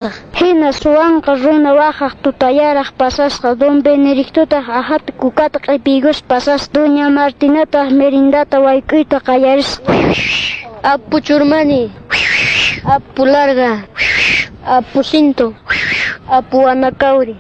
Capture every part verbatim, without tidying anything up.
Hina suwanqa runa waqaq tutayaraq pasasqa. Don Benedictotaq aqhata kukata q'ipiykuspa pasasqa. Doña Martinataq merindata wayk'uyta qallarisqa. Apu Churmani, Apu Larga, Apu Cinto, Apu Anacauri,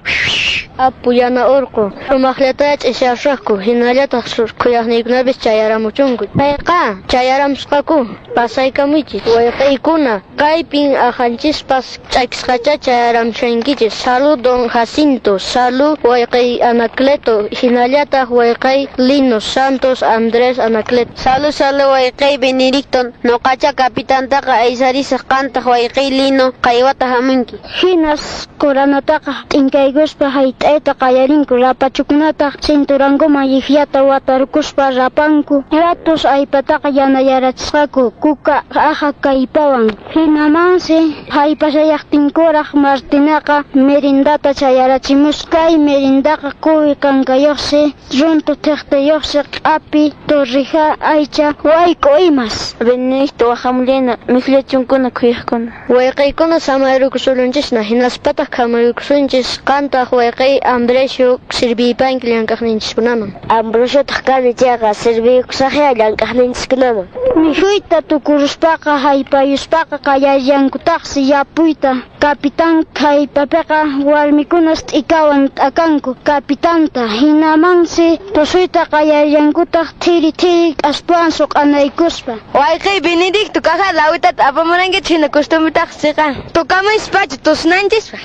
Apu Yana Urqu. Sumaqllata ch'isiyasaqku, hinallataq khuyaqniykunapis chayaramuchunku. Payqa chayaramusqaku, pasaykamuychis. Wayqiykuna, kaypin aqhanchispas ch'akisqachá chayaramushankichis. Salud don Jacinto, salud wayqiy Anacleto, hinallataq wayqiy Lino Santos Andrés Anacleto. Salud, salud wayqiy Benedicto, nuqacha kapitantaqa aysarisaq, qantaq wayqiy Lino qaywata hamunki. Hinas quranataqa t'inkaykuspa hayt'ayta qallarinku, rapachukunataq cinturankuman llikllata watarkuspa rapanku. Ratus allpataqa yanayarachisqaku kuka aqha kallpawan. Hinamansi haypashallaqtinkuraq Martinaqa merindata chayarachimusqa. Kay merindaqa quwi kankayuqsi, runtu thiqtiyuqsi, q'api, torrija, aycha, wayk'u imas. Benedicto waqhamullana mikhullachunkuna khuyaqkuna. Wayqiykuna samayrukusununchisna, hinaspataq khamaykusunchis, qantaq wayqiy Ambrosio sirviypanki llank'aqninchiskunaman. Ambrosiotaq kani chayqa sirviykusaqya llank'aqninchiskunaman. Mikhuyta tukuruspaqa haypayuspaqa qallallankutaqsi yapuyta. Kapitan haypapiqa warmikunas t'ikawan t'akanku kapitanta. Hinamansi tusuyta qallallankutaq thiri thiri k'aspawan suq'anaykuspa. Wayqiy Benedicto, caja lawitata apamurankichis hina costumbretaq siqa. Tukamuyspacha tusunanchispaq.